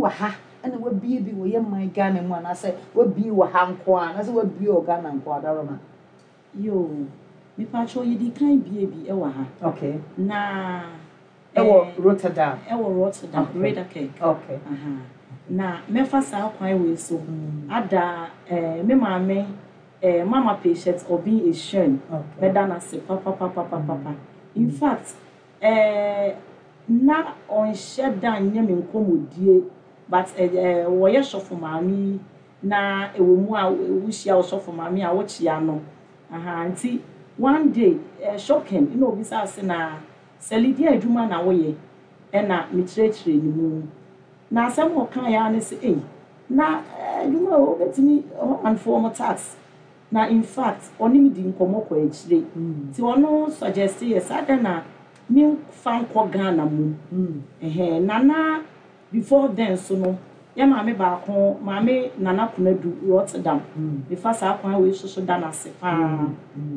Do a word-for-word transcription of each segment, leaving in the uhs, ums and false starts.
wɔ ha ɛna wabie bi wɔ yɛ man Ghana mu, anaasɛ wabie wɔ ha nko a, anaasɛ wabie wɔ Ghana nko a, Daroma? Yo, mepatwɛ, yɛdi kan bie bi ɛwɔ ha. Okay na Ɛwɔ eh, Rotterdam? Ɛwɔ Rotterdam. Okay. Ridderkerk. okay Aha. Na mɛfa saa kwan wei so ada eh, me maame, eh, Mama Patient Obi Ehyen. Okay mɛda n'ase papapapapapa. In fact, eh, na ɔnhyɛ da nyɛ me nkɔmmɔdie, but eh, eh, wɔyɛ sɔfo maame yi na ɛwɔ mu a wohyia ɔsɔfo maame a wokyia no aha. Nti one day, eh, shocking na obisa ase na sɛlidi adwuma na woyɛ, ɛna mekyerɛkyerɛ ne mu na asɛm a ɔka ya ne sɛ, ei, na eh, adwuma a wobɛtumi Hollandfoɔ mo tax. Na in fact, ɔne me di nkɔmmɔ kɔ akyire, nti ɔno suggest yɛ saa dɛn na memfa nkɔ Ghana mu. Ɛhɛn, nana, before then so no, yɛ maame baako, Maame Nana Kunadu, Rotterdam, mefa saa kwan wei so so da n'ase paa.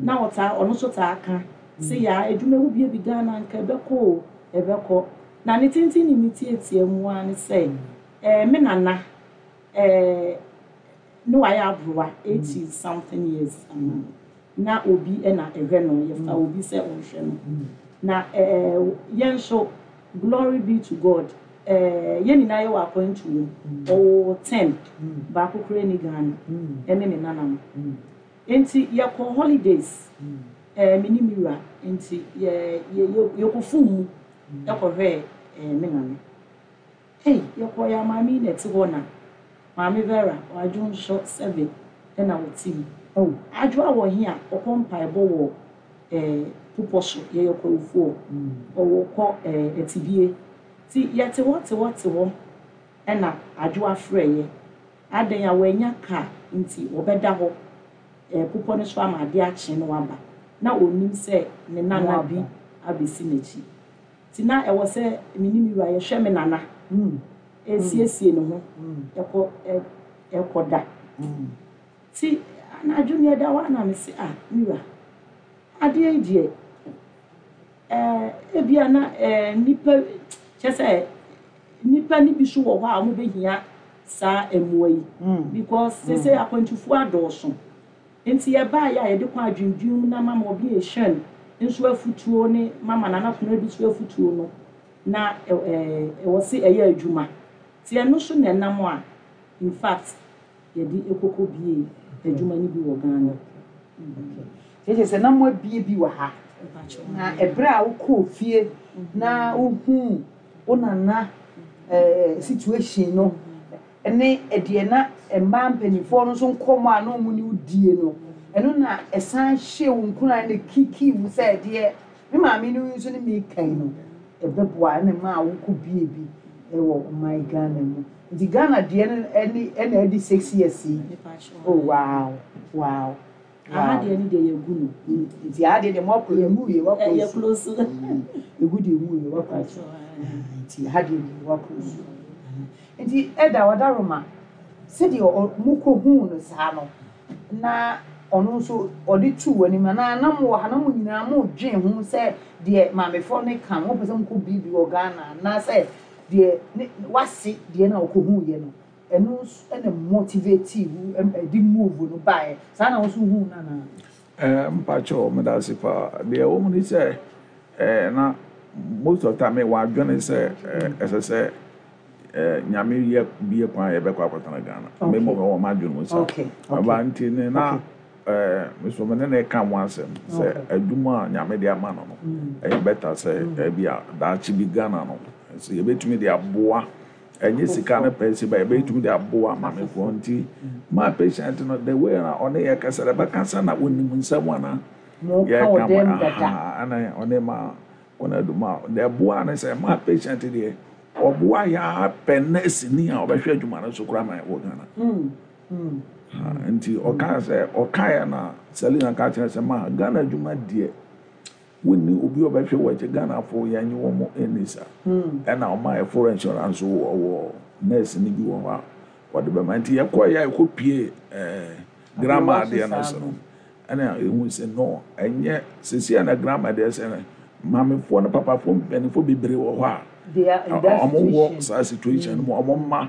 Na ɔtaa, ɔno nso taa ka sɛ yɛ adwuma wo bie bi Ghana nka ɛbɛkɔ o, ɛbɛkɔ. Na ne tenten ne ne tietie mu ara ne sɛ ɛɛ me nana ɛɛ ne wayɛ aborowa eighty something years um, na obi ɛna ɛhwɛ no, yɛfa obi sɛ ɔnhwɛ no. Na ɛɛ yɛn nso, glory be to God, ɛɛ yɛn nyinaa yɛ wɔ akwantuo mu. Ɔwɔ ten, baako koraa ni Ghana, ɛne ne nana no. Nti yɛkɔ holidays, ɛɛ me ne mi wura, nti yɛ yɛ yɛ yɛkɔ fum mu ɛkɔhwɛ ɛɛ me nana. Ei, yɛkɔ yɛ maame yi na ɛte hɔ na Maame Vera wadwo nso seven ɛna wɔte mu. Oh. Adwo a wɔ he a ɔkɔ mpaebɔ wɔ ɛɛ pupɔ so, yɛyɛ kɔrɔfoɔ, ɔwɔ kɔ ɛɛ ɛtibie. Ti yɛte hɔ te hɔ te hɔ, ɛna adwo afrɛ yɛ adan a wɔanya kaa, nti wɔbɛda hɔ ɛɛ pupɔ no so ama adeɛ akye no waba. Na onim sɛ ne nana bi abɛsi n'akyi, ti na ɛwɔ sɛ me ne mi wura yɛhwɛ me nana, esiesie ne ho ɛkɔ ɛ ɛkɔ da. Ti anadwo mi ɛda hɔ ana me se, "Ah, mi wura, adeɛ yi deɛ, ɛɛ ebia na ɛɛ nipa kyɛ sɛ nipa ni bi so wɔ hɔ a wɔn bɛhia saa mmoa yi, because sese akwantufoɔ adɔɔso." Nti yɛbaa yɛ a yɛde kɔ adwendwen mu na Mama Obi ehyɛn nso afutuo ne Mama Nana Kono bi nso afutuo no na ɛɛ ɛwɔ se ɛyɛ adwuma. Ti ɛno so na ɛnam a in fact yɛde ekoko bie adwuma no bi wɔ Ghana. Kyerɛ sɛ na mo abie bi wɔ ha, na ɛberɛ a wokɔɔ fie na wohuu wo nana ɛɛ situation no ɛne ɛdeɛ na mmaa mpanimfoɔ no nso nkɔmmɔ a na ɔmo ne wo die no, ɛno na ɛsan hyɛ wo nkuran na kiki wo sɛ ɛdeɛ me maame no nso ne me kan no ɛbɛboa, ɛna maa wokɔ bie bi ɛwɔ ɔman Ghana mu. Nti Ghana deɛ no ɛne ɛna ɛdi six years yi. Oh wow wow Aha deɛ no deɛ, yɛgu no. Nti aha deɛ deɛ mo akɔ emu yɛ wakɔ. Yɛ close. Egu deɛ emu yɛ wakɔ, nti aha deɛ deɛ wakɔ so. Nti ɛda ɔdaroma sɛdeɛ mo kɔ huu no saa no, na ɔno nso ɔde tu wɔ anim anaa na mo wɔ ha na mo nyinaa mo dwen ho sɛ deɛ maamefoɔ no ka no, mo pɛ sɛ mo kɔ biribi wɔ Ghana, anaasɛ deɛ ne wase deɛ na ɔkɔ huu yɛ no, ɛno nso ɛna motivate wo ɛde move no baeɛ saa na wɔn nso huu no anaa? Ɛɛ mpakyɛw, meda ase paa. Deɛ ɛwɔ mu ni sɛ ɛɛ na most of the time wɔ adwene sɛ ɛɛ ɛsɛ sɛ ɛɛ Nyame yɛ bie kwan a yɛbɛkɔ akɔtena Ghana. Mmemme wɔ wɔn adwene mu sa ɔba nti ne na ɛɛ meso me ne ne ka ho asɛm sɛ adwuma a Nyame de ama no no ɛyɛ better sɛ ɛbi a daakye bi Ghana no sɛ yɛbɛtumi de aboa, ɛnyɛ sika no pɛ sɛ ba yɛbɛtumi de aboa maamefoɔ. Nti maa Patient no, the way na ɔne yɛ kasa, ɛbɛkasa na onim nsɛm ana yɛka mo aha, ɛna ɔne ma kɔnɔ aduma deɛ ɛboa ne sɛ maa Patient deɛ ɔboa yɛ apɛ nurse ni a ɔbɛhwɛ adwuma no so koraa ma wɔ Ghana. Nti ɔkaa sɛ ɔkaeɛ na Selina ka kyerɛ sɛ maa Ghana adwuma deɛ, wonni obi a ɔbɛhwɛ wɔ akyi. Ghanafoɔ yɛnye wɔn ani sa, ɛna ɔma yɛ foreign insurance wɔ wɔ nurse ni bi wɔ hɔ a wɔde bɛma. Nti yɛkɔ yɛ a yɛkɔ pie ɛɛ grandma adeɛ no so no, ɛna ehu sɛ no ɛnyɛ sisi ɛna grandma deɛ sɛ maamefoɔ ne papafoɔ mpanimfoɔ bebree wɔ hɔ a ɔmo wɔ saa situation no mu, ɔmo mma.